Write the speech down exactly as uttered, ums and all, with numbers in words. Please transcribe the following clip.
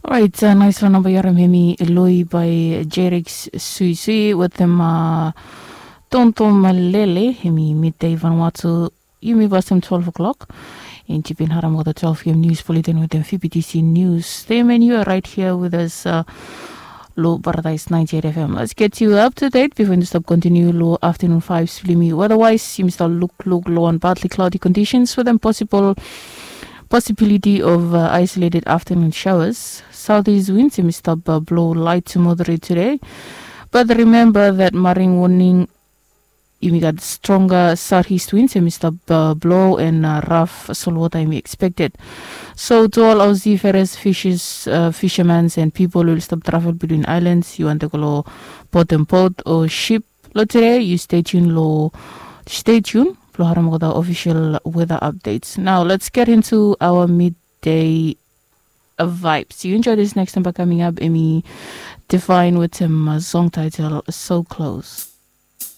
Orait, nais long namba yu harim hemi Loi bae Jerix Suisui wetem Tontom Lele, hemi midei Vanuatu. Yumi pasem twelve o'clock. And yu bin harim olgeta twelve p.m. news bulletin wetem P P T C news. Stay man, you are right here with us. Long Paradise ninety-eight F M. Let's get you up to date before you stop continue long afternoon vibes blong yumi. Weather-wise, yumi stap lukluk long wan partly cloudy conditions with a possible possibility of uh, isolated afternoon showers. Southeast winds yumi stap uh, blow light to moderate today. But remember that marine warning yumi got stronger southeast winds yumi stap uh, blow and uh, rough solwater yumi expected. So to all Aussie ferries, fishers, uh, fishermen and people who stop travel between islands, you want to go bottom boat or ship, lo today you stay tuned lo stay tuned lo harim olgeta official weather updates. Now let's get into our midday vibes. You enjoy this next number coming up, Emi Define with him uh, song title So Close.